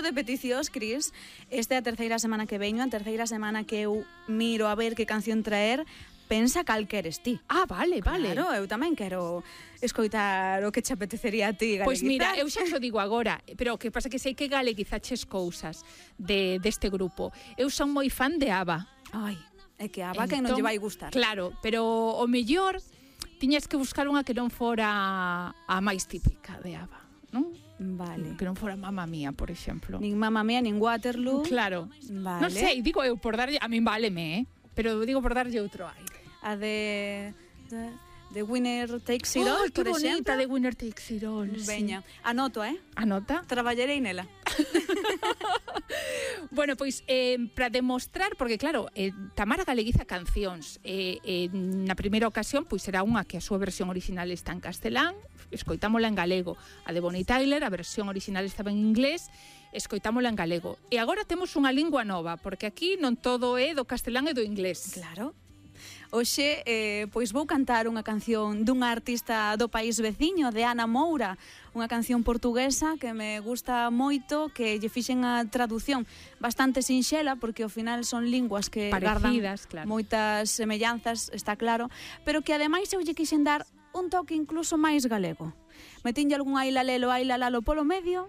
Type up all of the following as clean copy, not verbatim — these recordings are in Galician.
de peticións, Cris, esta é a terceira semana que veño, a terceira semana que eu miro a ver que canción traer. Pensa cal queres ti. Ah, vale. Claro, eu tamén quero escoitar o que che apetecería a ti, galeguizar. Pois mira, eu xa xo digo agora, pero o que pasa que sei que galeguizaches cousas deste grupo. Eu son moi fan de ABBA. Ai, é que ABBA que non lle vai gustar. Claro, pero o mellor tiñas que buscar unha que non fora a máis típica de ABBA, non? Vale. Que non fora Mamma Mía, por exemplo. Nin Mamma Mía, nin Waterloo. Claro. Vale. Non sei, digo eu por darlle, a min váleme, pero digo por darlle outro aire. A de Winner Takes It All, que por exemplo. bonita, de Winner Takes It All. Veña, anoto, Anota. Traballarei nela. Bueno, pois, para demostrar, porque claro, Tamara galeguiza cancións, na primeira ocasión, pois será unha que a súa versión original está en castelán, escoitámola en galego. A de Bonnie Tyler, a versión original estaba en inglés, escoitámola en galego. E agora temos unha lingua nova, porque aquí non todo é do castelán e do inglés. Claro. Hoxe, pois vou cantar unha canción dunha artista do país veciño, de Ana Moura, unha canción portuguesa que me gusta moito, que lle fixen a traducción bastante sinxela, porque ao final son linguas que parecidas, gardan claro, moitas semellanzas, está claro, pero que ademais eu lle quixen dar un toque incluso máis galego. Metinlle algún ailalelo, ailalalo polo medio,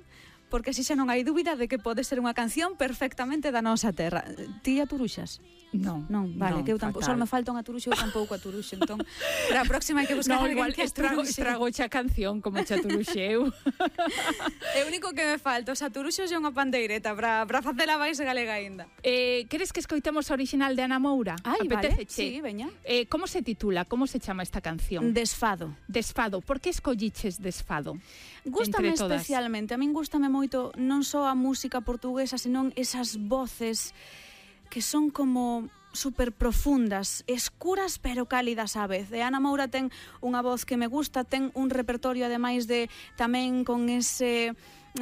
porque así xa non hai dúbida de que pode ser unha canción perfectamente da nosa terra. Ti aturuxas? Non, vale, que eu tampouco, só me falta unha turuxa, eu tampouco aturuxo, entón, para a próxima hai que buscar alguén que estrago xa canción como xa turuxeu. É o único que me falta, os aturuxos e unha pandeireta para facela máis galega aínda. Queres que escoitemos a original de Ana Moura? Ai, vale, sí, veña. Como se titula, como se chama esta canción? Desfado. Desfado, por que escolliches Desfado? Gústame especialmente, a min gústame moito non só a música portuguesa, senón esas voces que son como super profundas, escuras pero cálidas á vez. E Ana Moura ten unha voz que me gusta, ten un repertorio ademais de tamén con ese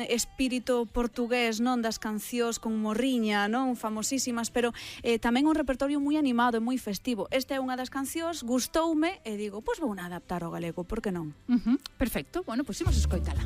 espírito portugués, non, das cancións con morriña, non, famosísimas, pero tamén un repertorio moi animado e moi festivo. Esta é unha das cancións, gustoume e digo, pois vou adaptar ao galego, por que non? Perfecto, bueno, pois imos escoitala.